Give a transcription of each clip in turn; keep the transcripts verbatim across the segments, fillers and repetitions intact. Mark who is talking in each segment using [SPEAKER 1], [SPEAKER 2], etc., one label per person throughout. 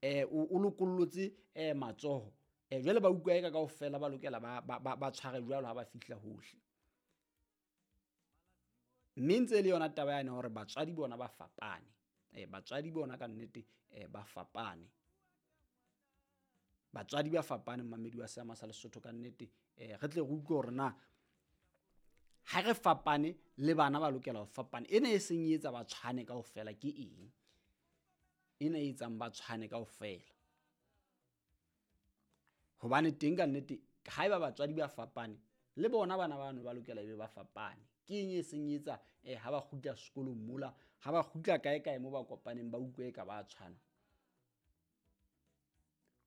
[SPEAKER 1] um o lokollotse um matsoho. Um jwale ba utlwa eka kaofela ba lokela ba, ba, ba, ba tshware jwalo ha ba fihla hohle. Mme ntse e le yona taba yane hore batswadi bona ba fapane. Eh, batswadi bona ka nnete eh, ba fapane. Batswadi ba fapane mmamedi wa Seama sa Lesotho ka nnete. Eh, re tle re utlwe hore na ha re fapane le bana ba lokela ho fapana. Ena e seng e etsa ba tshwane kaofela ke eng? Ena e etsang ba tshwane kaofela. Hobane teng ka nnete haeba batswadi ba fapane le bona bana bano ba lokela ebe ba fapane. Ke eng e seng e etsa eh, ha ba kgutla sekolong mola, ha ba kgutla kae kae mo ba kopaneng ba utlwe eka ba tshwana.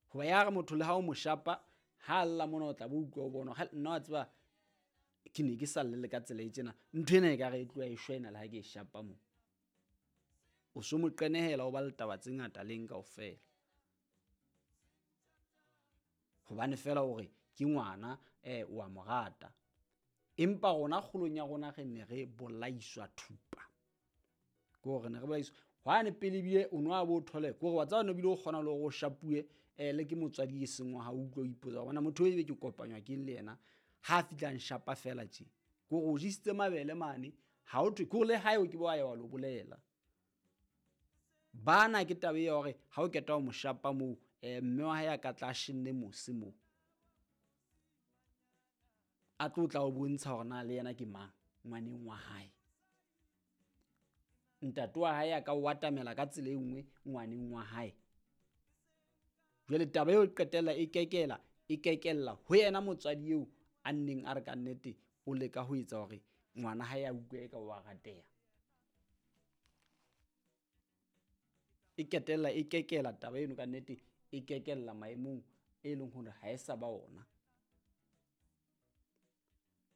[SPEAKER 1] Hoba ya re motho le ha o mo shapa, ha lla mona o tla bo utlwa o bona hore nna wa tseba ke ne ke sa llele ka tsela e tjena. Ntho ena ekare e tloha e shwa ena le ha ke e shapa mo. O so mo qenehela o ba le taba tse ngata leng kaofela. Hobane feela hore ke ngwana eh o a mo rata. Empa rona kgolong ya rona re ne re bolaiswa thupa. Ke hore ne re bolaiswa hwane pele ebile o no a bo thole ke hore wa tseba no bile o kgona le hore o shapuwe eh le ke motswadi e seng wa hao, utlwe o ipotsa bona motho ebe ke kopanywa ke le yena ha fihla nshapa fela tje. Ke hore o jesitse mabele mane ha o thwe ke hore le hae o ke bo ya wa lo bolela. Bana ke taba ya hore ha o keta ho mo shapa moo eh mme wa hae a ka tla shenne mose moo. A tlo tla o bontsha hore na le yena ke mang ngwaneng wa hae. Ntate wa hae a ka o atamela ka tsela e nngwe ngwaneng wa hae. Jwale taba eo e qetella e kekela, e kekella ho yena motswadi eo a nneng a re ka nnete o leka ho etsa hore ngwana hae a utlwe eka o a rateha. E ketella e kekela taba eno ka nnete e kekella maemong e leng hore ha e sa ba ona.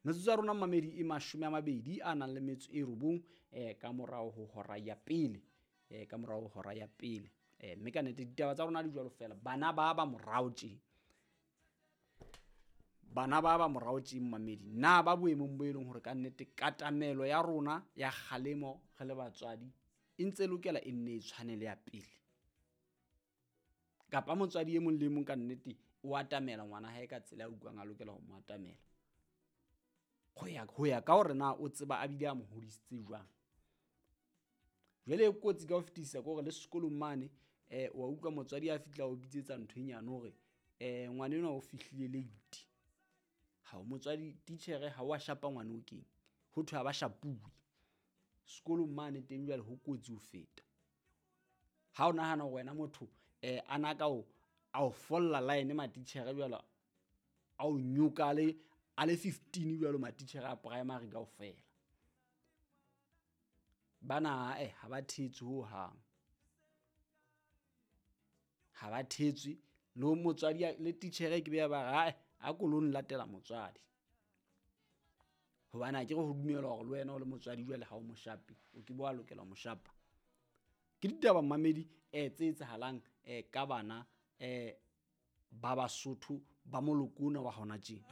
[SPEAKER 1] Metsotso ya rona mamedi e mashome a mabedi a nang le metso e robong eh ka morao ho hora ya pele, eh ka morao ho hora ya pele. Eh mme ka nnete ditaba tsa rona di jwalo fela. Bana ba ba morao tje. Bana ba ba morao tje mamedi. Na ba boemong bo e leng hore ka nnete katamelo ya rona ya kgalemo re le batswadi e ntse lokela e nne e tshwane le ya pele. Kapa motswadi e mong le mong ka nnete o atamela ngwana hae ka tsela a utlwang a lokela ho mo atamela. Ho ya, ho ya ka hore na o tseba a bile a mo hodisitse jwang. Jwale e kotsi ka ho fetisisa ke hore le sekolong mane eh wa utlwa motswadi a fihla o bitsetsa ntho e nyane hore eh ngwana enwa o fihlile late. Ha o motswadi titjhere ha wa shapa ngwana o keng. Ho thwe ha ba shapuwe. Sekolong mane teng jwale ho kotsi ho feta. Ha o nahana hore wena motho eh ana ka o a o folla line matitjhere jwale a o nyoka le a le fifteen jwalo matitjhere a primary kaofela. Bana eh ha ba thetswe ho hang. Ha ba thetswe le motswadi le titjhere ke be ba re a ko lo nlatela motswadi. Hobane ha ke re ho dumela hore le wena o le motswadi jwale ha o mo shape, o ke bo a lokela ho mo shapa. Ke ditaba mamedi eh tse etsahalang eh ka bana eh ba Basotho ba moloko ona wa hona tjena.